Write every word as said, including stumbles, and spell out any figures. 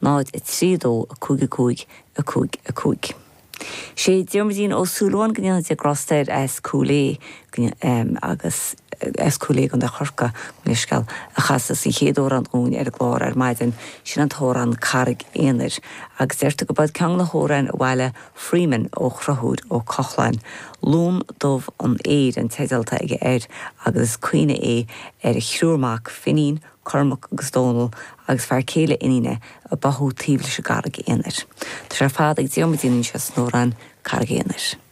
náid a trí dó a cúig a cúig a cúig a cúig. Sé Diarmuidín Ó Súilleabháin go ndéana Dia grásta air as Cúil Aodha agus as Cúil Aodha i gContae Chorcaí leithscéal a chas an chéad amhrán dúinn ar an gclár ar maidin sin an t-amhrán Carraig Aonair agus deirtear gurb é ceann de na hamhráin a bhailigh Freeman ó Chonchúr Ó Cochlain. Lún dubh an fhéir an teideal atá aige air agus is caoineadh é ar a thriúr mac Finín, Cormac agus Dónal agus fear céile iníne a báthadh taobh leis an gCarraig Aonair. Tá sé ar fad ag Diarmuidín anseo san amhrán Carraig Aonair.